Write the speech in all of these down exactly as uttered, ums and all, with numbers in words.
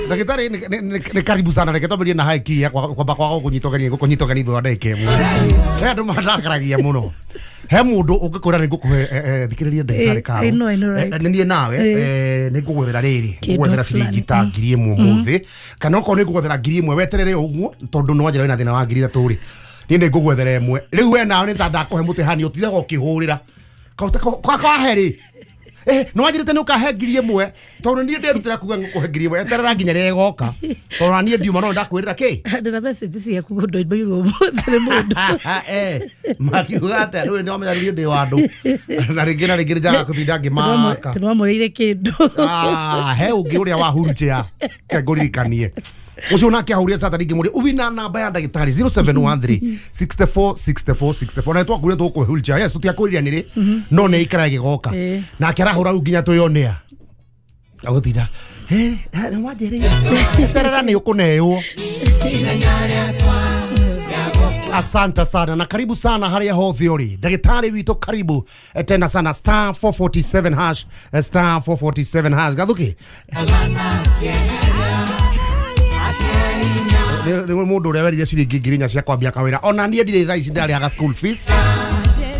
Ndagĩtarĩ nĩ karibu sana, reke twambĩrĩrie na haki ya kwamba kwaga kũnyitwo gani kũnyitwo gani thutha wa ndagĩka ĩmwe. He andũ mandakaragia mũno. He mũndũ ũngĩkwĩra nĩ ngũkũhe, thikĩrĩria ndagĩtarĩ Karo, nĩ niĩ nawe nĩ ngũgwethera rĩrĩ, ngũgwethera ciringi ta ngiri ĩmwe ũmũthĩ, kana okorwo nĩ ngũgwethera ngiri ĩmwe weterere ũguo, tondũ nĩ wanjĩra wĩna thĩna wa ngiri ithatũ rĩ, niĩ nĩ ngũgwethera ĩmwe. Rĩu we nawe nĩ ta ndakũhe mũtihani ũtindaga ũkĩhũrĩra kahe rĩ, eh no wanjĩrĩte nĩ ũkahe ngiri ĩmwe, tondũ niĩ nderutĩra kuga ngũkũhe ngiri ĩmwe, eterera nginya rĩrĩa ĩgoka, tondũ na niĩ ndiuma no ndakwĩrĩra kĩ ndĩna message ciaku ndoimbairwo ũmũthĩ nĩ mũndũ. Eh makiuga atĩa rĩu nĩ wamenya niĩ ndĩ wa andũ na rĩngĩ na rĩngĩ nĩ njaga kũtinda ngĩmaka tũnĩwamũrĩire kĩndũ. Ah, he ũngĩ ũrĩa wa wheelchair ke ngũririkanie ucio nake ahurire sata ringi muri ubina namba ya ndagitari zero seven one three sixty four sixty four sixty four na twakurire tũkũhe wheelchair, yes tutiakwĩrire nĩrĩ no nĩ ikara ĩgĩgoka nake arahũra rĩu nginya twĩyonea agũtinda eh nĩ wanjĩrĩire terera nĩ ũkũneyo. Asante sana na karibu sana haria hothe uri ndagitari witũ, karibu tena sana star four forty seven hash star four forty seven hash gathuki nĩ mũndũ ũrĩa werire ciringi ngiri inya cia kwambia kawĩra, ona niĩ ndirĩ thaa ici ndarĩhaga school fees.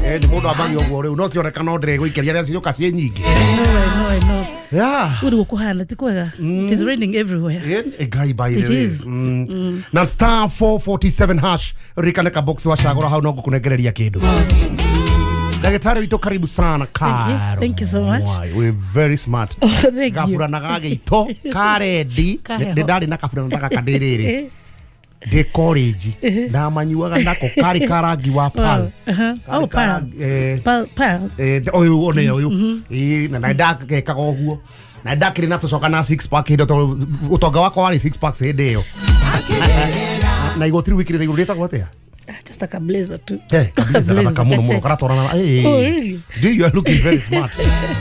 Eh nĩ mũndũ ambagia ũguo rĩu no cioneka no ndĩrĩgũikĩria rĩa ciũka ciĩ nyingĩ. Yeah. Uri gũkũhana ti kwega. It is raining everywhere. Eh Ngai by the way. Na star four forty seven hash ririkane ka box wa cagũra hau no ngũkũnengereria kĩndũ. Ndagĩtarĩ witũ karibu sana Karo. Thank you so much. We're very smart. Oh, thank you. Gaburana ga gĩito karendi nĩ ndarĩ na kaburana ta gaka ndĩ rĩrĩ ndĩ college ndamanyuaga nako karĩ karangi wa pal. Oh, pal. Pal pal. Eh ũyũ one ũyũ. Ĩ na ndakekaga ũguo. Na ndakĩrĩ na tũcoka na six pack hĩndĩ tondũ ũtonga wakwa warĩ six packs hĩndĩ ĩyo. Na igoti rĩu wĩkĩrĩte igũrũ rĩtagwo atĩa? Just like a blazer too. Eh, kabisa kama muno muno karatwarana. Eh. Oh, really? Do you are looking very smart.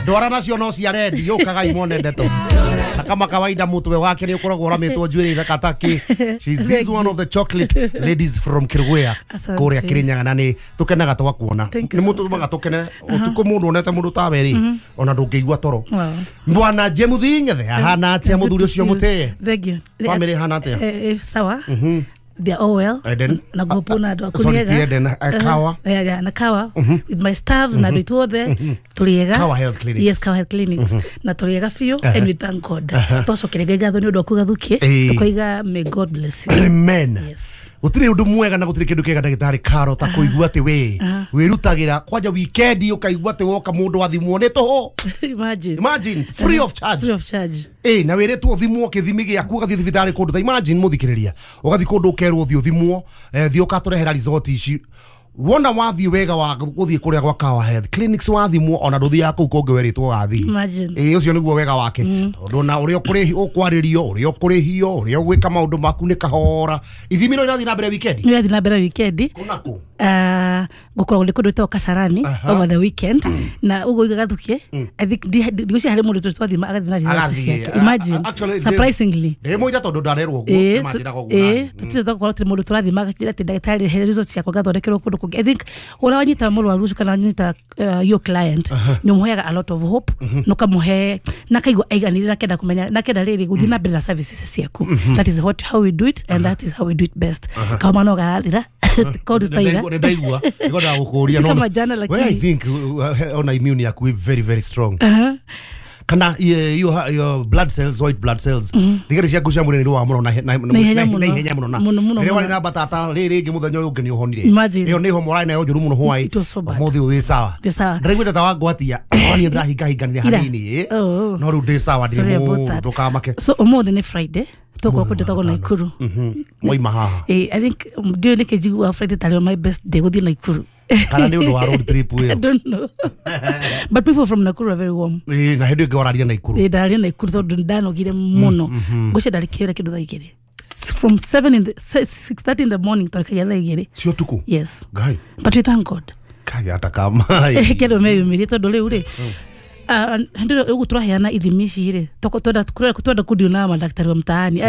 Ndwarana cio no cia rendi yukaga imone ndeto. Na kama kawaida mutwe wake ni ukoragwo ũramĩtwo njuĩrĩ ithaka taki. She's this one of the chocolate ladies from Kirwea. Kũrĩa Kirinyaga na nĩ tũkenaga twakuona. Nĩ mũtũmaga tũkene ũtukũ mũndũ onete mũndũ tawe rĩ ona ndũngĩigua toro. Bwana Jemuthi Ng'ethe ahana atĩa mũthuri ũcio mũtĩe? Thank you. Family hana atĩa? Eh sawa. They are all well. Eden. Na gopona adu uh, sorry, Eden, uh, Kawa. Yeah, yeah, na Kawa. Mm -hmm. With my staffs, mm -hmm. na dutu there. Mm -hmm. Tuliega. Kawa Health Clinics. Yes, Kawa Health Clinics. Mm -hmm. Na tuliega fiyo, uh -huh. and we thank God. Uh -huh. Toso kirega nĩ ũndũ wa kũgathukie. Tukoiga may God bless you. Amen. Yes. Gũtirĩ ũndũ mwega na gũtirĩ kĩndũ kĩega ndagĩtarĩ Karo ta kũigua atĩ we wĩrutagĩra kwanja weekend ũkaigua atĩ woka mũndũ athimwo nĩ tũhũ. Imagine. Imagine free of charge. Free of charge. Eh na wĩrĩtwo ũthimwo kĩthimi gĩaku ũgathiĩ thibitarĩ kũndũ ta imagine mũthikĩrĩria ũgathiĩ kũndũ ũkerwo ũthiĩ ũthimwo thiĩ ũkatũrehera result ici wona wathiĩ wega wa gũthiĩ kũrĩa gwa Kawa Health Clinics wathimwo ona ndũthiaga kũu kũngĩ werĩtwo ũgathiĩ. Ĩĩ ũcio nĩguo wega wake tondũ na ũrĩa ũkũrĩhi ũkwarĩrio ũrĩa ũkũrĩhio ũrĩa ũgwĩka maũndũ maku nĩ kahora. Ithimi no irathiĩ na mbere weekend? Irathiĩ na mbere weekend. Kũna kũ? Uh, gũkoragwo nĩ kũndũ gwĩtagwo Kasarani over the weekend na ũguo gathukie I think ndigwĩciria harĩ mũndũ twathima agathiĩ na results ciake. Imagine. Surprisingly. Ndĩ mũira tondũ ndarerwo ũguo nĩmanjĩraga ũguo. Ĩĩ tũtirĩ twakorwo tũrĩ mũndũ tũrathima agakĩra atĩ ndagĩtarĩ he results ciakwa ngathondekerwo kũndũ kũngĩ. I think ũrĩa wanyita mũrwaru ũcio kana wanyita your client nĩ ũmũheaga a lot of hope na ũkamũhe na akaigua aiganĩire na kenda kũmenya na kenda rĩrĩ gũthiĩ na mbere na services ciaku. That is what how we do it and that is how we do it best. Kauma no garathira kũndũ ta ira. Nĩ ndaigua nĩngwendaga gũkũria no well, I think ona immune yaku very very strong. Kana your your blood cells, white blood cells thigari ciaku cia mwĩrĩ nĩ rũa mũno na ihenya mũno na rĩrĩa warĩ na mbatata rĩrĩ rĩngĩ mũthenya ũyũ ũngĩ nĩ ũhonire. Ĩyo nĩ homa ũrarĩ nayo njũru mũno hwaĩ ũmũthĩ ũyũ wĩ sawa. Ndĩraiguĩte ta wangwatia niĩ ndĩrahingahinganire hanini no rĩu ndĩ sawa ndĩ mũũru ndũkamake. So ũmũthĩ nĩ Friday tũkorwo kũndũ gwĩtagwo Nakuru. Mwaima haha. I think ndiũĩ nĩkĩ njiguaga Friday tarĩ my best day gũthiĩ Nakuru. Kana nĩ ũndũ wa road trip ĩyo? I don't know. But people from Nakuru are very warm. Ĩĩ na hĩndĩ ĩngĩ wararia Nakuru. Ĩĩ ndararia Nakuru tondũ ndanogire mũno. Ngwĩciria ndarĩ kĩwĩra kĩndũ thaa igĩrĩ. From seven in the six thirty in the morning twarĩkagia thaa igĩrĩ. Cia ũtukũ? Yes. Ngai. But we thank God. Kai atakama. Kĩndũ meyumĩrie tondũ rĩu rĩ Ndio ugu turaheana ithimi ici rĩ twenda twenda kudeal na madaktari wa mtaani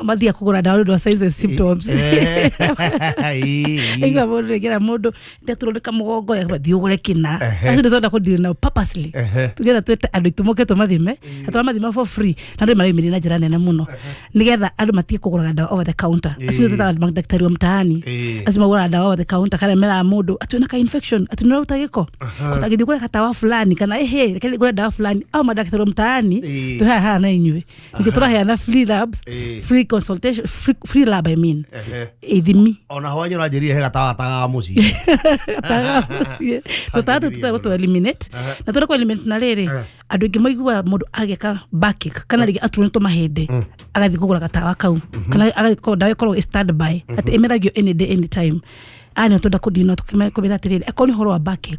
mathia kugura dawa ndu wa signs and symptoms. Inga mundu ngira mundu ndaturondeka mugongo yathi ugure kina acio ndizonda kudeal nao purposely tugetha twete andu itumoke tumathime na turamathima for free na andu mareyumĩria na njĩra nene mũno nigetha andu matige kuguraga dawa over the counter. Acio twetaga madaktari wa mtaani acio maguraga dawa over the counter kana meraga mundu ati wĩna ka infection ati nĩũraruta gĩko ũtagĩthiĩ kũrĩa gatawa fulani kana ehe reke ngũre dawa fulani au madaktari wa mtaani tũheaga haha na inyuĩ ningĩ tũraheana free labs, free consultation, free, free lab I mean ithimi ona ho anyora njĩrire he gatawa taga mũciĩ taga mũciĩ tũtatũ tũtagwo tũ eliminate na tũrĩa kũ eliminate na rĩrĩ andũ aingĩ maiguaga mũndũ agĩka backache kana rĩngĩ aturwo nĩ tũmahĩndĩ agathiĩ kũgũra gatawa kau kana agathiĩ dawa ĩkoragwo ĩ standby atĩ ĩmeragio any day any time. Aya twenda kũdina tũkĩmera atĩrĩrĩ akorwo nĩ ũhoro wa backache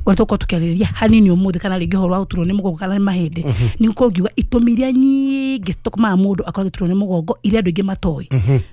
ũrĩa tũgũkorwo tũkĩarĩrĩria hanini ũmũthĩ kana rĩngĩ ũhoro wa gũturwo nĩ mũgongo kana nĩ mahĩndĩ nĩ ngũkorwo ngiuga itũmi iria nyingĩ citũmaga mũndũ akorwo agĩturwo nĩ mũgongo iria andũ aingĩ matoĩ.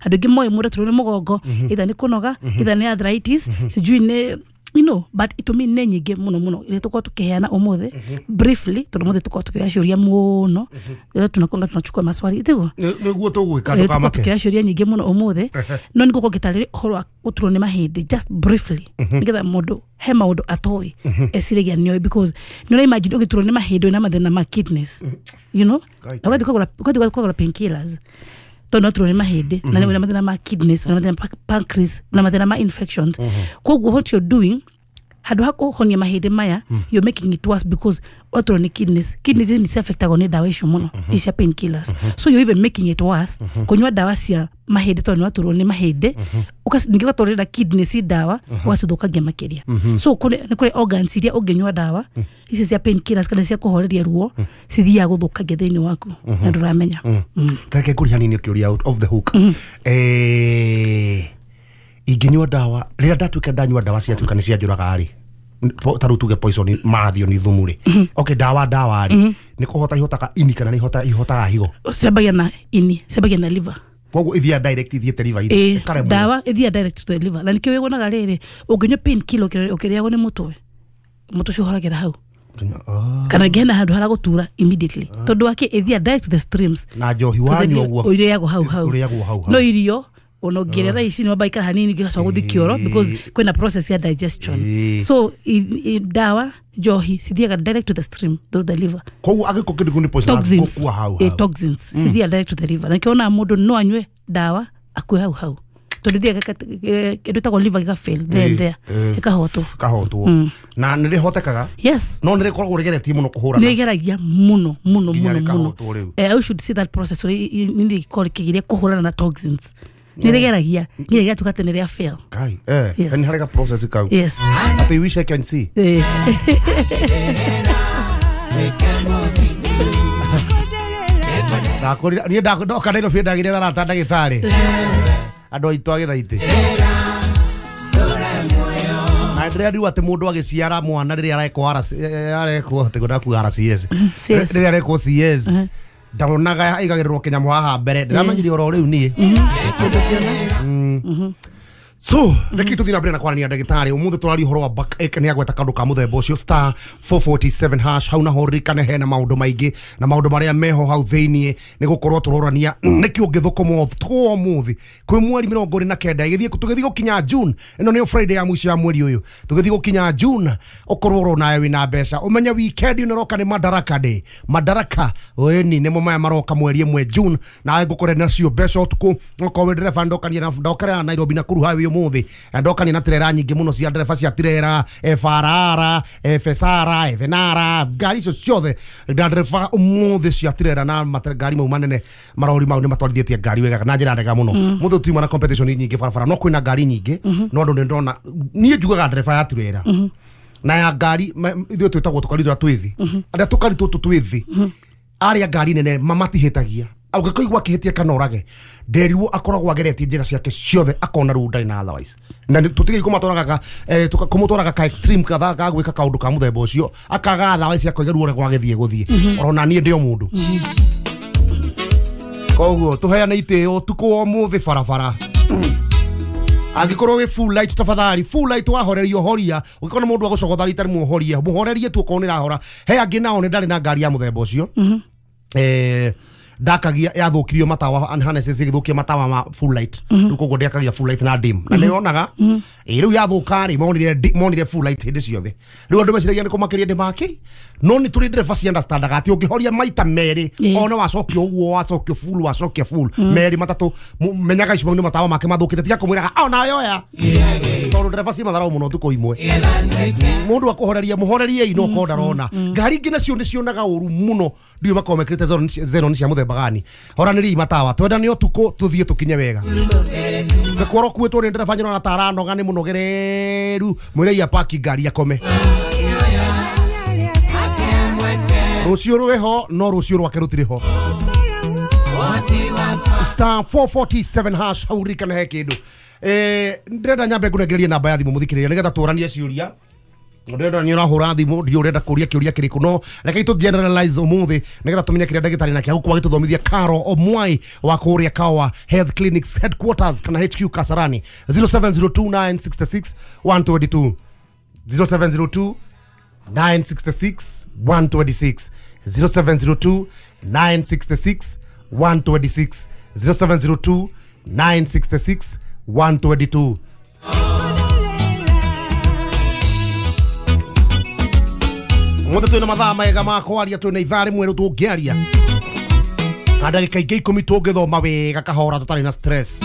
Andũ aingĩ moĩ mũndũ aturwo nĩ mũgongo either nĩ kũnoga either nĩ arthritis sijui nĩ you know but itũmi nĩ nyingĩ mũno mũno iria tũkorwo tũkĩheana ũmũthĩ briefly tondũ ũmũthĩ tũkorwo tũkĩoya ciũria mũno rĩrĩa tunakwanga tunachukua maswali tiguo nĩguo tũgwĩka ndũkamake tũkĩoya ciũria nyingĩ mũno ũmũthĩ no nĩngũkorwo ngĩtarĩria ũhoro wa gũturwo nĩ mahĩndĩ just briefly nĩgetha mũndũ he maũndũ atoĩ eciragia nĩoĩ because nĩ ũra imagine ũgĩturwo nĩ mahĩndĩ wĩna mathĩna ma kidneys you know na ũgathiĩ ũkagũra ũgathiĩ ũkagũra painkillers tondũ no turwo nĩ mahĩndĩ na wĩna mathĩna ma kidneys wĩna mathĩna ma pancreas na mathĩna ma infections. Koguo what you're doing handũ ha kũhonia mahĩndĩ maya you're making it worse because waturwo nĩ kidneys kidneys ici nĩ ciaffectagwo nĩ dawa icio mũno ici cia painkillers so you're even making it worse kũnyua dawa cia mahĩndĩ tondũ nĩ waturwo nĩ mahĩndĩ ningĩ ũgatwarĩra kidneys dawa ũgacithũkangia makĩria. So nĩ kũrĩ organs iria ũngĩnyua dawa ici cia painkillers kana cia kũhoreria ruo cithiaga gũthũkangia thĩinĩ waku na ndũramenya. Tareke ngũrie hanini ũkĩũria out of the hook eh ingĩnyua dawa rĩrĩa ndatuĩka ndanyua dawa ciatuĩka nĩ cianjũraga rĩ ta rĩu tuge poison marathio nĩ thumu rĩ okay dawa dawa rĩ nĩ kũhota ihotaga ini kana nĩ ihota ihotaga higo ciambagia na ini ciambagia na liver koguo ithiaga direct ithiĩte liver-inĩ ĩkaremwo dawa ithiaga direct to the liver na nĩkĩo wĩwonaga rĩrĩ ũngĩnyua painkiller ũkĩrĩagwo nĩ mũtwe mũtwe ũcio ũhoragĩra hau kana rĩngĩ hena handũ haragũtura immediately tondũ wake ĩthiaga direct to the streams na njohi wanyua ũguo ũrĩagwo hau hau ũrĩagwo hau hau no irio ona ũngĩrĩa thaa ici nĩ wamba ikara hanini ũgĩcoka gũthiĩ kĩoro because kwĩna process ya digestion so i, i, dawa njohi cithiaga direct to the stream through the liver koguo angĩkorwo kĩndũ kĩu nĩ poison gũkua hau hau toxins cithiaga direct to the liver na nĩkĩo wonaga mũndũ no anyue dawa akue hau hau tondũ ithiaga kĩndũ ĩtagwo liver gĩka fail there and there ĩkahotwo ĩkahotwo na nĩ rĩhotekaga yes no nĩ rĩkoragwo rĩgeretie mũno kũhũrana nĩ rĩgeragia mũno mũno mũno mũno I should see that process ũrĩa nĩ rĩkorwo rĩkĩgeria kũhũrana na toxins nĩ rĩgeragia nginya gĩgatuĩka atĩ nĩ rĩa fail Kai eh nĩ harĩ ga process kau yes atĩ wish I can see eh ndakorire niĩ ndoka Nairobi ndagĩire na arata ndagĩtarĩ andũ aitũ a Gĩthaitĩ na ndĩrariu atĩ mũndũ agĩciara mwana rĩrĩa arekwo arekwo atĩ ndakuga R C S rĩrĩa arekwo C S ndaronaga aigagĩrĩrwo kĩnyamũ haha mbere ndĩramenyire oro rĩu niĩ. So reke tũthiĩ na mbere na kwaranĩria ndagĩtarĩ ũmũthĩ tũraria ũhoro wa backache nĩ agweta kaũndũ ka mũthemba ũcio star four forty-seven hash hau naho ririkane hena maũndũ maingĩ na maũndũ marĩa meho hau thĩiniĩ nĩ gũkorwo tũrorania nĩkĩ ũngĩthũkũma ũtukũ wa ũmũthĩ kwĩ mweri mĩrongo ĩrĩ na kenda ĩgĩthiĩ tũgĩthiĩ gũkinya June ĩno nĩyo Friday ya mũico ya mweri ũyũ tũgĩthiĩ gũkinya June ũkorwo oro nawe wĩna mbeca ũmenye weekend ĩno ĩroka nĩ Madaraka Day Madaraka ĩni nĩmo maya maroka mweri ĩmwe June nawe ngũkore nacio mbeca ũtukũ okorwo wĩ ndereba ndokania na ndokera Nairobi na Nakuru highway umuthi ndokania na tirera nyingĩ mũno cia ndereba cia tirera F R R F S R F N R ngari icio ciothe na ndereba umuthi cia tirera na ngari mau manene marori mau nĩ matwarithĩtie ngari wega na njĩra njega mũno mũthĩ tuma na competition nyingĩ barabara no kwĩna ngari nyingĩ no andũ nĩ ndona niĩ njugaga ndereba ya tirera na ya ngari ithuĩ twĩtagwo tũkari tũrĩa twĩ thĩ arĩa tũkari tũtũ twĩ thĩ arĩa ngari nene mamatihĩtagia ũngĩkoigua akĩhĩtia kana orage nderirwo akoragwo ageretie njĩra ciake ciothe akona rĩu ndarĩ na otherwise na tũtige kũmatwaraga kũmũtwaraga ka extreme katha ga gwĩka kaũndũ ka mũthemba ũcio akaga otherwise akoiga ruo ũrĩa gwagĩthiĩ gũthiĩ orona niĩ ndĩ o mũndũ koguo tũheane itĩo ũtukũ wa ũmũthĩ barabara. Angĩkorwo wĩ full light tafadhali full light wahorerio horia ũngĩkorwo mũndũ agũcogotha rita rĩmwe horia mũhorerie tu okorwo nĩ rahora. He angĩ nao nĩ ndarĩ na ngari ya mũthemba ũcio eh ndakagia yathũkirio matawa harnesses igĩthũkia matawa ma full light rĩu koguo ndĩakagia full light na dim na nĩyonaga ĩ rĩu yathũka rĩ monire monire full light hĩndĩ ciothe rĩu andũ meciragia nĩ kũmakĩria ndĩmaki no nĩ tũrĩ ndereba ci understandaga atĩ ũngĩhoria maita merĩ ona wacokio ũguo wacokio full wacokia full merĩ matatũ menyaga icio nĩ matawa make mathũkĩte tiga kũmwĩraga ona yoya tondũ ndereba ci matharau mũno tukũ imwe mũndũ akũhoreria mũhorerie no ko ndarona ngari ingĩ nacio nĩ cionaga ũru mũno ndiũ makorwo mekĩrĩte xenon cia mũthemba gani horanĩria matawa twendane ũtukũ tũthiĩ tũkinye wega ngakorwo kuĩtwo nĩ ndereba nyona ta aranoga nĩ mũnogereru mwĩrei apaki ngari akome rũciũ rwĩho no rũciũ rwake rũtirĩ ho. Star four forty-seven hash hau ririkana he kĩndũ eh ndĩrenda nyambe ngũnengererie namba ya thimũ mũthikĩrĩria nĩgetha tũranie ciũria ndĩrenda nĩ ũrahũra thimũ ndiũ ũrenda kũria kĩũria kĩrĩkũ no reke tũ generalize ũmũthĩ nĩgetha tũmenye kĩrĩa ndagĩtarĩ nake agũkorwo agĩtũthomithia Caro Omwai wa kũrĩa Kawa Health Clinics Headquarters kana H Q Kasarani zero seven zero two nine six six one two two zero seven zero two nine six six one two six zero seven zero two nine six six one two six zero seven zero two nine six six one two two. Mothe twina mathaa mega ma kwaria twina ithaa rimwe riu tũngĩaria na ndagĩka ingĩ ikũmi tũngĩthoma wega kahora tũtarĩ na stress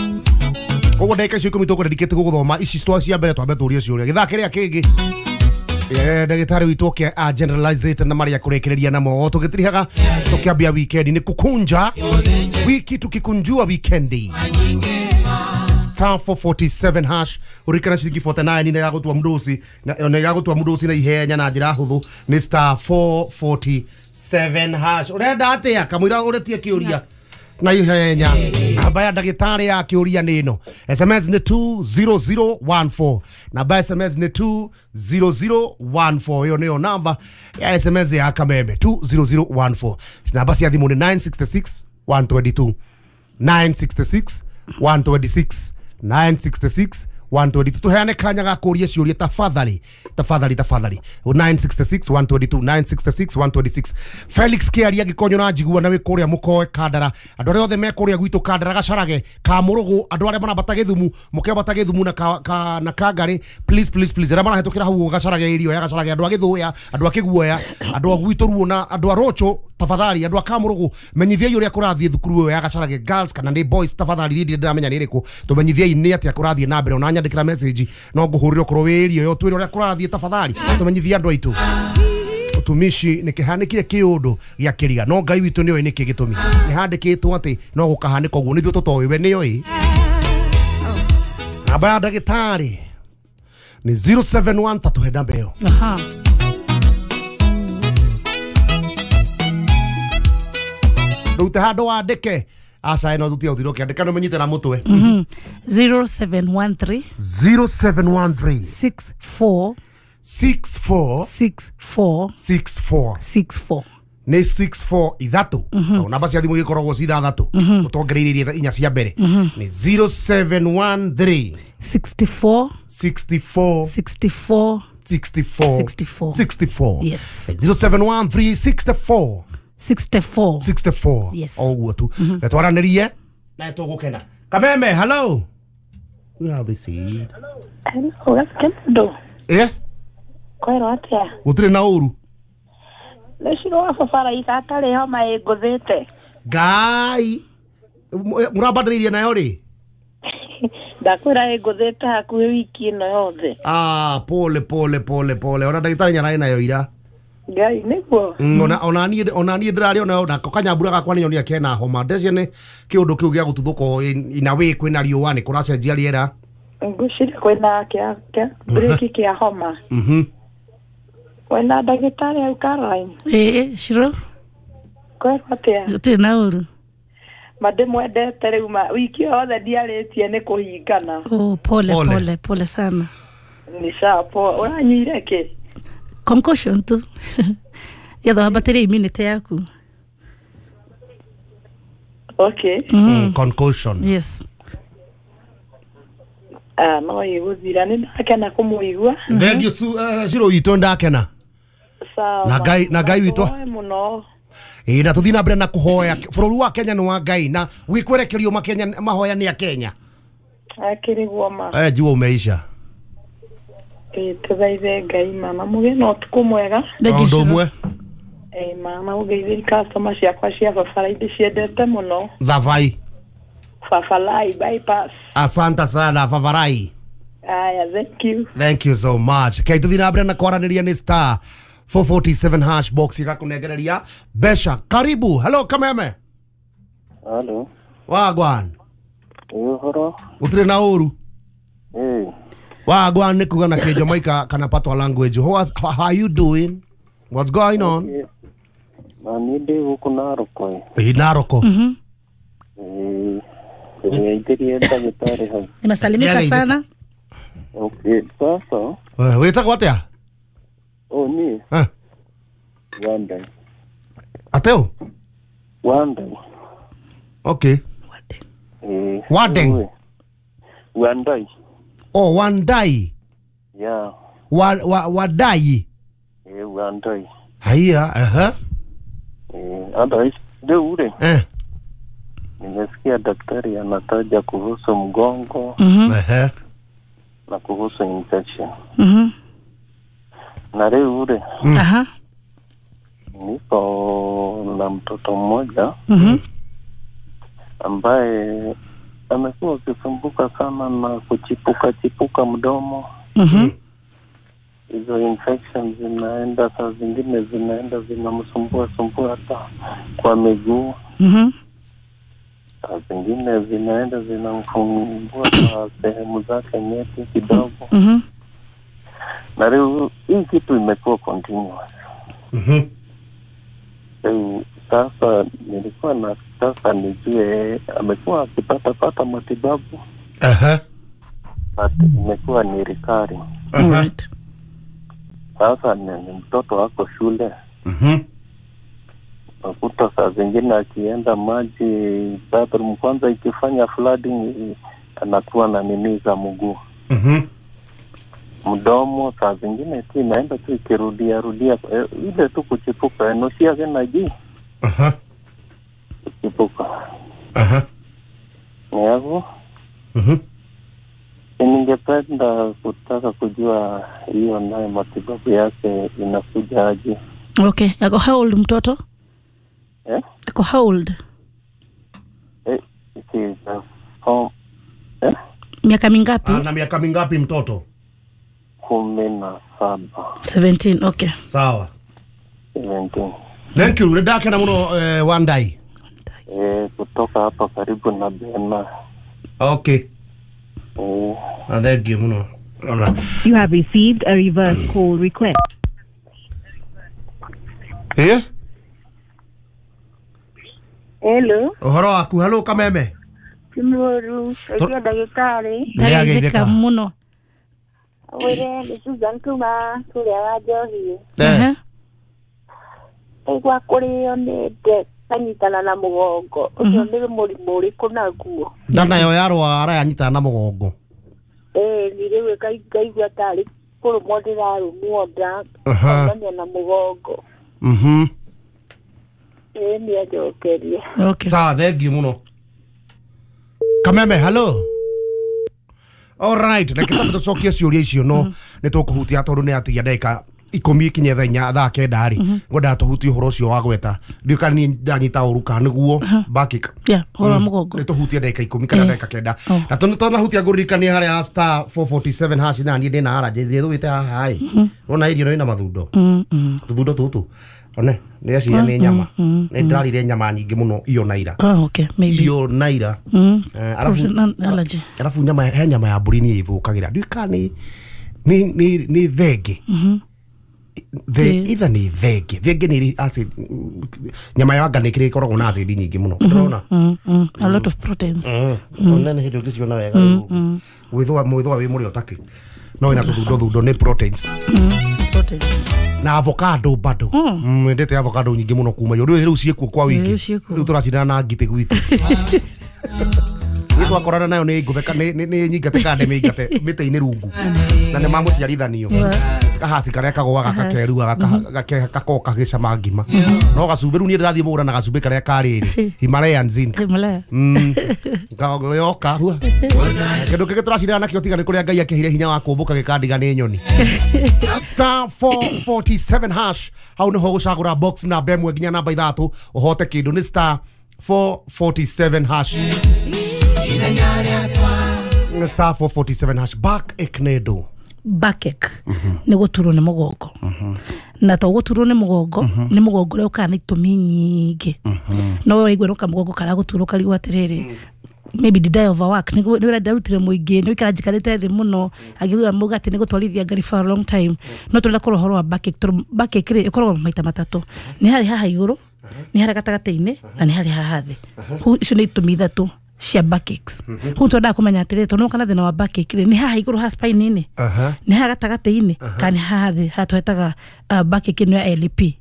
koguo ndagĩka icio ikũmi tũkũdedicate gũgũthoma ici cia mbere twambe tũrie ciũria gĩthaa kĩrĩa kĩngĩ ndagĩtarĩ witũ oke a generalizate na marĩa kũrĩkĩrĩria namo tũgĩtirihaga tũkĩambia weekend nĩ kukunja wiki tukikunjua weekendi star four forty-seven hash urikana ciringi forty-nine nĩ yagũtua mũndũ na nĩ yagũtua mũndũ na ihenya na njĩra hũthũ nĩ star four forty-seven hash ũrenda atĩa kamũira ũretie kĩũria na ihenya namba ya ndagĩtarĩ ya kĩũria nĩ ĩno S M S nĩ two zero zero one four namba ya S M S nĩ two zero zero one four ĩyo nĩyo namba ya S M S ya Kameme two zero zero one four namba cia thimũ nĩ nine six six one two two nine six six one two six nine six six one two two tuheane kanya ga kũria ciũria tafadhali tafadhali tafadhali nine six six one two two nine six six one two six Felix Kiaria gĩkonyo na njigua na wĩ kũrĩa mũkoe Kandara andũ arĩa othe me kũrĩa gwitũ Kandara Gacarage ka Mũrũgũ andũ arĩa marambata Gĩthumu mũkĩambata Gĩthumu na ka, ka, na Kangari please please please arĩa marahĩtũkĩra hau Gacarage irio ya Gacarage andũ a Gĩthũya andũ a Kĩguoya andũ a gwitũ Ruo na andũ a Rocho tafadhali andũ a Kamũrũgũ menyithiai ũrĩa kũrathiĩ thukuru ĩyo ya Gacarage girls kana nĩ boys tafadhali niĩ ndirĩ ndĩramenya nĩ ĩrĩkũ tũmenyithiai nĩ atĩa kũrathiĩ na mbere ona nyandĩkĩra message no ngũhũrĩre okorwo wĩ area ĩyo twĩre ũrĩa kũrathiĩ tafadhali tũmenyithie andũ aitũ ũtumishi nĩ kĩhanĩkire kĩũndũ gĩa kĩriga no Ngai witũ nĩoĩ nĩkĩ gĩtũmi nĩ handĩkĩtwo atĩ no gũkahanĩka ũguo nĩthuĩ tũtoĩ we nĩoĩ namba ya ndagĩtarĩ nĩ zero seven one tatũhe namba ĩyo aha rute handũ wandĩke aca ĩno thutia ũthire ũkĩandĩka nĩ ũmenyite na mũtwe zero seven one three zero seven one three six four six four six four six four six four nĩ six four ithatũ namba cia thimũ igĩkoragwo ci ithathatũ ũtongereirie inya cia mbere nĩ zero seven one three sixty four sixty four sixty four sixty four sixty four sixty four yes zero seven one three sixty four sixty four sixty four yes oguo tu twaranĩrie na tũgũkena Kameme hello we have received hello gasikendo eh kwero atia gũtirĩ na ũru nĩciro wa baba araika atarĩ homa ĩngũthĩte Ngai mũrambanĩrĩirie nayo rĩ ndakwĩra ĩngũthĩte hakuhĩ wiki ĩno yothe ah pole pole pole pole ona ndagĩtarĩ nyararĩ nayo ira Ngai nĩguo ona ona niĩ ona niĩ ndĩrarĩ ona nako kanyambura gakwa nĩ nyonia kena homa ndecia nĩ kĩũndũ kĩu gĩa gũtuthũka ina wĩ kwĩna riũa nĩ kũracenjia rĩera ngwĩciria kwĩna kĩa kĩa breki kĩa homa mhm wena ndagĩtarĩ hau Caroline ĩĩ Shiro kwero atĩa gũtirĩ na ũru ma ndĩmwendete rĩu ma wiki yothe ndiarĩtie nĩ kũhingana oh pole pole pole sana nĩ sawa poa ũranyuire kĩ concussion tu yatho ambatĩria immunity yaku okay mm. Concussion yes Ah, no iguthira ni ndakena kumuigua. Thank you Shiro witũ ndakena. Sawa. Na Ngai na Ngai witũ muno. Ĩ na tuthi na mbere na kuhoya bũrũri wa Kenya nĩ wa Ngai na gwikwerekerio makenya mahoya nĩ a Kenya. Akiriguo ma. Eh jua umeisha. Ĩ tuthaithe Ngai mama muge no tuku mwega. Ũndũ ũmwe. Eh mama ugeithĩri customer ciakwa cia Fafalai ndĩciendete mũno. Thavai. Fafalai bypass. Asante sana Fafalai. Aya, thank you. Thank you so much. Kai tuthi na mbere na kwaranĩria nĩ star four forty-seven hash box igakunengereria besha. Karibu. Hello Kameme. Hello. Wagwan. Uhoro. Utire na uru. Eh. Wagwan ni kuga na ke Jamaica kana patwa language. How, how are you doing? What's going on? Okay. Na ni guku Naroko. Eh Naroko. Mhm. Eh. Nimeitiria daktari hau. Nimesalimika sana. Okay, sasa. Eh, wetagwo atia? Oh, ni. Eh. Wandai. Ateo? Wandai. Okay. Eh. Wadeng. Wandai. Oh, Wandai. Yeah. Wa, wa Wadai. Eh, Wandai. Haya, aha. Eh, otherwise ndio ule. Eh. Nimesikia daktari anataja kuhusu mgongo. Mhm. Eh. Na kuhusu infection. Mhm. Na leo ule. Mm. Aha. Niko na mtoto mmoja. Mhm. Ambaye amekuwa akisumbuka sana na kuchipuka chipuka mdomo. Mhm. Hizo infections zinaenda saa zingine zinaenda zinamsumbua sumbua hata kwa miguu. Mhm. Saa zingine zinaenda zinamfumbua kwa sehemu zake nyeti kidogo. Mhm. Na leo hii kitu imekuwa continuous. Mhm. Leo sasa nilikuwa nataka nijue amekuwa akipata pata matibabu. Aha. But imekuwa ni recurring. Aha. Right. Sasa ni mtoto wako shule. Mhm. Nakuta saa zingine akienda maji bathroom kwanza ikifanya flooding anakuwa na nini za mguu. Mhm. Mdomo saa zingine tu inaenda tu ikirudia rudia ile tu kuchipuka nusia tena ji. Aha. Kuchipuka. Aha. Niago. Mhm. Ningependa kutaka kujua hiyo nayo matibabu yake inakuja aje. Okay, ako how old mtoto? Eh? Ako how old? Eh, it is uh, form eh? Miaka mingapi? Ana miaka mingapi mtoto? Kumi na saba. seventeen, okay. Sawa. seventeen. Thank you. Ndake na muno eh, Wandai. Eh, kutoka hapa karibu na Bena. Okay. Eh, ah, thank you muno. You have received a reverse call request. Eh? Hello. Uhoro waku, hello Kameme. Kimuru, ngeithia ndagĩtarĩ. Ndagĩka muno. Wĩre nĩ Susan kuma kũrĩa wa Njohi. Ehe. Ndaigua kũrĩo nĩ nda kanyitana na mũgongo. Ũcio nĩ mũrimũ ũrĩkũ naguo? Nda nayo yarwara yanyitana na mũgongo. Ĩĩ ni rĩu ngaigua tarĩ kũrũmwo ndĩrarũmwo nda kaumania na mũgongo. Mhm. Ĩĩ nĩ anjokerie. Okay. Sawa, thank you muno. Kameme, hello. All right, reke twambe tũcokie ciũria icio no nĩ tũkũhutia tondũ nĩ atigia ndagĩka ikũmi ikinye thaa inya thaa kenda rĩ ngwendaga tũhutie ũhoro ũcio wa gweta ndiũĩ kana niĩ ndanyita ũru kana nĩguo back Yeah, ũhoro wa mũgongo. Nĩ tũhutie ndagĩka ikũmi kana ndagĩka kenda na tondũ twanahutia ngũririkanie harĩa star four forty-seven hash na niĩ ndĩna allergy thĩthũĩte haha ĩ wona irio ĩno ĩna mathundo tũthundo tũtũ one ndĩreciria nĩ nyama nĩ ndĩrarire nyama nyingĩ mũno iyo na ira. Oh, okay, maybe. Iyo na ira. Mm. Eh, alafu allergy. Alafu nyama he nyama ya mbũri nĩ ĩthũkagĩra ndiũĩ kana nĩ nĩ nĩ nĩ thenge. Mhm. The either nĩ thenge thenge nĩ ĩrĩ acid nyama ya anga nĩ kĩrĩ ĩkoragwo na acid nyingĩ mũno ndĩrona. Mm, mm. A lot of proteins. Ona nĩ hĩndĩ ũngĩciona wega rĩu gwĩthũa mwĩthũa wĩ mũrĩo takĩ no ĩna tũthundo thundo nĩ proteins. Mm, proteins. Na avocado bado. Mm, endete avocado nyingĩ mũno kuma yo rĩu ciĩkuo kwa wiki. Rĩu ciĩkuo. Rĩu tũracindana na ngitĩ gwitũ. Nĩ twakorana nayo nĩ ngũtheka nĩ nĩ nyingate kande mĩingate mĩtĩ-inĩ rungu na nĩ mamũciarithanio kahaci karĩa kagũaga gakerua gakoka gagĩcama ngima no gacumbĩ rĩu niĩ ndĩrathiĩ mũgũra na gacumbĩ karĩa karĩrĩ Himalayan zinc Himalaya yoka rua kĩndũ kĩngĩ tũracindana nakĩo tiga nĩ kũrĩa Ngai akĩheire hinya wa kũmbũka gĩkandiga nĩ nyoni. Star four forty-seven hash hau nĩho gũcagũra box namba ĩmwe nginya namba ithatũ ũhote kĩndũ nĩ star four forty-seven hash star four forty-seven hash. Back eknedo backache nĩ gũturwo nĩ mũgongo na to gũturwo nĩ mũgongo nĩ mũgongo ũrĩa ũkaga na itũmi nyingĩ no ũraigua no kamũgongo karagũturwo karigwo atĩrĩrĩ maybe did I overwork nĩ wĩra ndarutire mũingĩ nĩ wĩikara njikarĩte thĩ mũno angĩgua muga atĩ nĩ gũtwarithia ngari for a long time no tũrenda kũrora ũhoro wa backache tondũ backache rĩ ĩkoragwo maita matatũ nĩ harĩ haha igũrũ nĩ harĩ gatagatĩ-inĩ na nĩ harĩ haha thĩ. Icio nĩ itũmi ithatũ cia backaches. Kũu twendaga kũmenya atĩrĩrĩ tondũ kana thĩna wa backache rĩ nĩ haha igũrũ ha spine-inĩ nĩ haha gatagatĩ-inĩ kana nĩ haha thĩ haha twetaga backache ĩno ya L P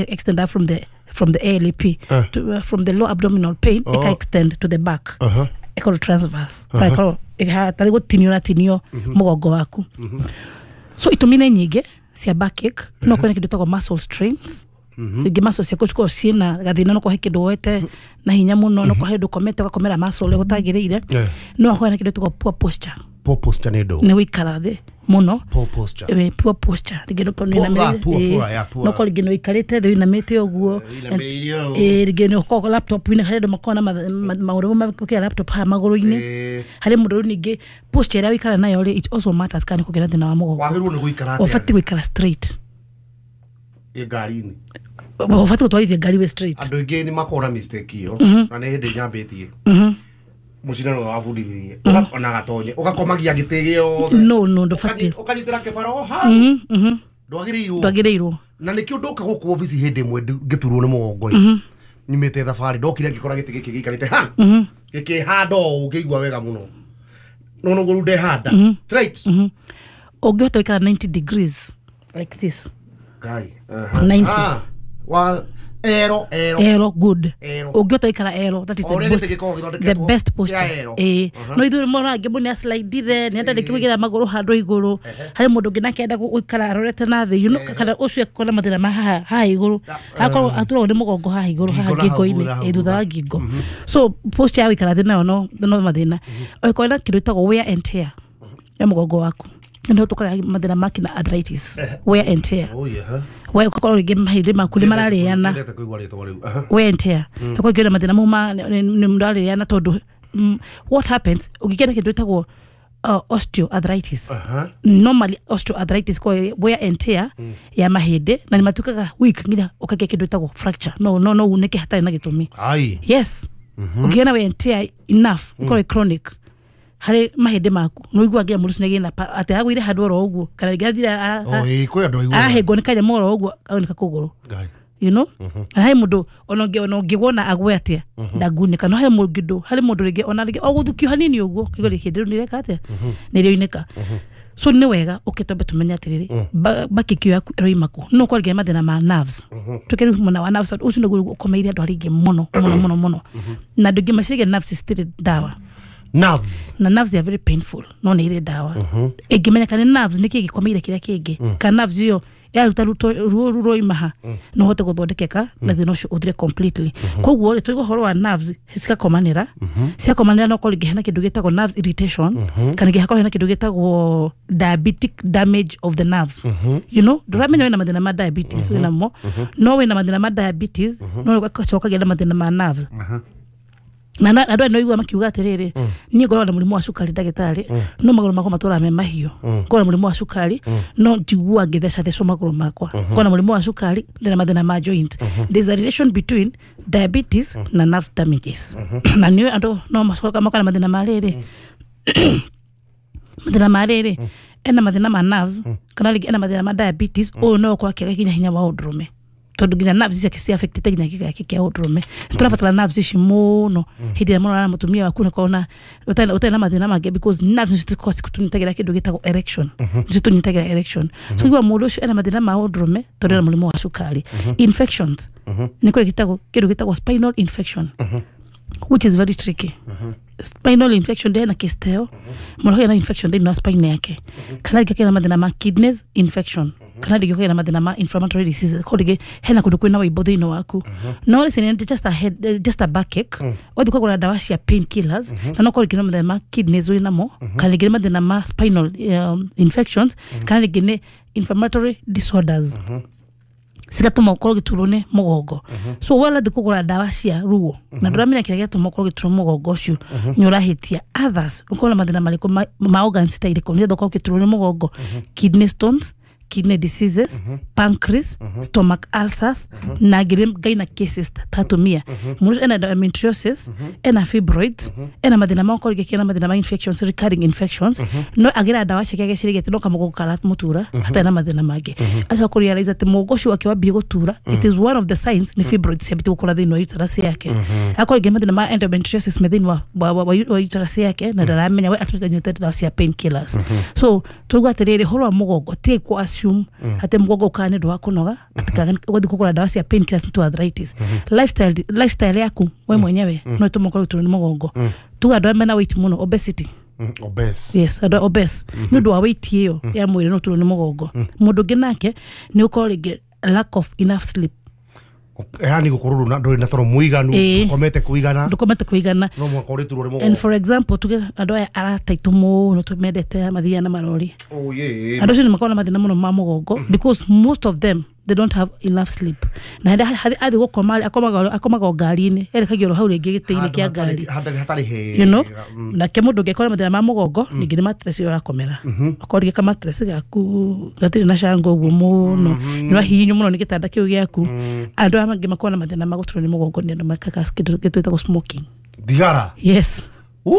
extend up from the from the A L P uh. to, uh, from the low abdominal pain uh. it can extend to the back uh-huh. Ĩkorwo transverse uh-huh. Ĩkorwo tarĩ gũtinio na tinio mũgongo waku. So itũmi nĩ nyingĩ cia backache no kwĩna kĩndũ gĩtagwo muscle strains rĩngĩ muscle ciaku cikorwo ciĩna gathĩna no kũhe kĩndũ woete na hinya mũno no kũhe ndũkomete ũgakomera muscle ũrĩa gũtagĩrĩire no akorwo na kĩndũ gĩtagwo poor posture. Poor posture nĩ ndũ nĩ gũikara thĩ mũno. Poor posture eh poor posture rĩngĩ no nĩ no ko rĩngĩ no ikarĩte thĩ ũinamĩte ũguo eh rĩngĩ no ko laptop inĩ harĩ andũ makoragwo na maũndũ ma laptop haha magũrũ-inĩ harĩ mũndũ rĩu ningĩ posture ĩrĩa ũikara nayo rĩ it also matters kana kũgĩa na thĩna wa mũgongo. Wagĩrĩirwo nĩ gũikara atĩa? Ũbatiĩ gũikara straight ngari-inĩ ũbatiĩ gũtwarithia ngari wĩ straight. Andũ aingĩ nĩ makoragwo na mistake ĩyo na nĩ hĩndĩ nyambĩtie mucindano wabundithirie ona gatonye ugakomagia gĩtĩ gĩothe no no ndũbatiĩ ũkanyitĩra kĩbaro hau ndwagĩrĩirwo ndwagĩrĩirwo na nĩkĩo ndoka gũkũ obici hĩndĩ ĩmwe ngĩturwo nĩ mũgongo rĩ nyumĩte thabarĩ ndokire ngĩkora gĩtĩ gĩkĩ gĩikarĩte ha gĩkĩhanda ũũ ngĩigua wega mũno no no ngũrũ ndehanda straight ũngĩhota gũikara ninety degrees like this Ngai ninety wa ero ero ero good ũngĩhota gũikara ero that is the best, the best posture eh no ithuĩ mũno angĩ mũno aslidire nĩ enda kũigĩra magũrũ handũ igũrũ harĩ mũndũ ũngĩ nake enda gũikara arorete na thĩ you know kana ũcio akona mathĩna ma haha haha igũrũ akorwo aturagwo nĩ mũgongo haha igũrũ haha ngingo-inĩ eh thutha wa ngingo so posture ya gũikara thĩ nayo no no mathĩna ũkorwo na kĩndũ gĩtagwo wear and tear ya mũgongo waku ndio tukaga mathĩna ma kina arthritis wear and tear. Oh yeah we ukakorwo rĩngĩ mahĩndĩ maku nĩ mararĩana wear and tear ũkorwo ngĩona mathĩna mau ma nĩ mararĩana tondũ what happens ũngĩkĩona kĩndũ gĩtagwo osteoarthritis normally osteoarthritis ko wear and tear ya mahĩndĩ na nĩ matuĩkaga weak nginya ũkagĩa kĩndũ gĩtagwo fracture no no no unĩke hatarĩ na gĩtũmi. Yes ũngĩona wear and tear enough ĩkorwo chronic harĩ mahĩndĩ maku no igua nginya mũndũ ũcio nĩ atĩ agũire handũ oro ũguo kana rĩngĩ athire ahĩngwo nĩ kanyamũ oro ũguo aunĩka kũgũrũ you know na harĩ mũndũ ona ũngĩwona agwe atĩa ndangunĩka no harĩ mũndũ harĩ mũndũ rĩngĩ ona rĩngĩ o gũthukio hanini ũguo kĩgũrũ rĩu nĩreka atĩa nĩrĩoinĩka. So nĩ wega ũkĩtwambe tũmenye atĩrĩrĩ backache yaku ĩroima kũ no ũkorwo rĩngĩ mathĩna ma nerves tuke rĩu mwena wa nerves ũcio nĩguo ũkomeire andũ arĩa aingĩ mũno mũno mũno mũno na andũ aingĩ meciragia nerves citirĩ ndawa. Nerves na nerves they are very painful no nĩ irĩ ndawa ĩngĩmenyeka nĩ nerves nĩkĩ gĩkomeire kĩrĩa kĩngĩ kana nerves ĩyo yaruta ruo ruroima ha no hote gũthondekeka na thĩna ũcio ũthire completely. Koguo rĩ tũiga ũhoro wa nerves cigakomanĩra ciakomanĩra no korwo rĩngĩ hena kĩndũ gĩtagwo nerves irritation kana rĩngĩ hakorwo hena kĩndũ gĩtagwo diabetic damage of the nerves you know ndũramenya wĩna mathĩna ma diabetes wĩna mo no wĩna mathĩna ma diabetes no ũgacoka kũgĩa na mathĩna ma nerves na na andũ no igua makiuga atĩrĩrĩ niĩ ngoragwo na mũrimũ wa cukari ndagĩtarĩ no magũrũ makwa matũraga me mahiũ ngoragwo na mũrimũ wa cukari no njiguaga ngĩthecathecwo magũrũ makwa ngoragwo na mũrimũ wa cukari ndĩna mathĩna ma joint. There's a relation between diabetes na nerve damages na nĩ andũ no macoka makona mathĩna ma rĩrĩ mathĩna ma rĩrĩ ena mathĩna ma nerves kana rĩngĩ ena mathĩna ma diabetes ũyũ no ũkorwo akĩaga nginya hinya wa ũndũrũme tondũ nginya nerves ciake ci affected nginya kĩga gĩake kĩa ũndũrũme tũrabatara nerves ici mũno hĩndĩ ĩrĩa mũrona mũtumia waku nĩkona ũtarĩ na mathĩna mangĩ because nerves nĩcio cikoragwo cikũtũnyitagĩra kĩndũ gĩtagwo erection nĩcio tũnyitagĩra erection so igua mũndũ ũcio ena mathĩna ma ũndũrũme tondũ ena mũrimũ wa cukari. Infections nĩ kũrĩ gĩtagwo kĩndũ gĩtagwo spinal infection which is very tricky. Spinal infection ndena kisteo mũndũ akagĩa na infection thĩinĩ wa spine yake, kana rĩngĩ akagĩa na mathĩna ma kidneys infection, kana rĩngĩ ũkagĩa na mathĩna ma inflammatory diseases, ko rĩngĩ hena kũndũ kwĩna wĩimbo thĩinĩ waku. No listen, just a head eh, just a backache, wathiĩ ũkagũra ndawa cia pain killers, na no korwo rĩngĩ nĩ mathĩna ma kidneys wĩ namo, kana rĩngĩ nĩ mathĩna ma spinal um, infections, kana rĩngĩ nĩ inflammatory disorders cigatũma ũkorwo ũgĩturwo nĩ mũgongo. So we ũrathiĩ kũgũra ndawa cia ruo na ndũramenya kĩrĩa gĩatũma ũkorwo ũgĩturwo mũgongo ũcio, nĩ ũrahĩtia. Others, ũkorwo na mathĩna marĩkũ ma, ma organs ta irĩkũ nĩgetha ũkorwo ũgĩturwo nĩ mũgongo? Kidney stones, kidney diseases, pancreas, stomach ulcers, na ngĩrĩ gyna cases ta atumia. Mũndũ ũcio ena endometriosis, ena fibroids, ena mathĩna ma ũkorwo rĩngĩ ena mathĩna ma infections, recurring infections, no agĩra ndawa ciake ageciragia atĩ no kamũgongo karamũtura hatarĩ na mathĩna mangĩ. Acoka kũrealize atĩ mũgongo ũcio wake wambie gũtura, it is one of the signs nĩ fibroids ciambĩtie gũkũra thĩinĩ wa uterus yake. Akorwo rĩngĩ mathĩna ma endometriosis me thĩinĩ wa, wa, wa, wa, wa uterus yake na ndaramenya, we atũmĩte anyuĩte ndawa cia pain killers. So tuuga atĩrĩrĩ, ũhoro wa mũgongo tigai kũ assume atĩ mũgongo ũkaga nĩ ũndũ wa kũnoga, atĩ kana ũgathiĩ kũgũra ndawa cia pain killers nĩ arthritis. lifestyle lifestyle yaku we mwenyewe no ĩtũme ũkorwo ũgĩturwo nĩ mũgongo. Tuga andũ arĩa mena weight mũno, obesity. Mm, obese. Yes, andũ obese nĩ ũndũ wa weight ĩyo ya mwĩrĩ no ũturwo nĩ mũgongo. Mũndũ ũngĩ nake nĩ ũkorwo rĩngĩ lack of enough sleep. Yani gukorwo ndũrĩ na toro mũiganu. Ĩĩ. Ndũkomete kũigana. Ndũkomete kũigana. No mũhaka ũrĩturwo nĩ And mũgongo. for example, tuge andũ aya arataitũ mũno tũmendete mathiaga na marori, Oh, yeah. andũ acio nĩ makoragwo na mathĩna mũno ma mũgongo because most of them, they don't have enough sleep, na hĩndĩ athiĩ gũkoma akomaga akomaga o ngari-inĩ, erekagia oro hau rĩngĩ gĩtĩ-inĩ kĩa ngari. Handũ hatarĩ hega. you know nake mũndũ ũngĩkorwo na mathĩna ma mũgongo ningĩ nĩ mattress ĩyo ũrakomera, okorwo rĩngĩ kamattress gaku gatirĩ na cango ũguo mũno, nĩ wahihinywo mũno nĩ gĩtanda kĩu gĩaku. Andũ aya mangĩ makoragwo na mathĩna ma gũturwo nĩ mũgongo nĩ andũ mekaga kĩndũ gĩtwĩtagwo smoking. Thigara. Yes. Ooh.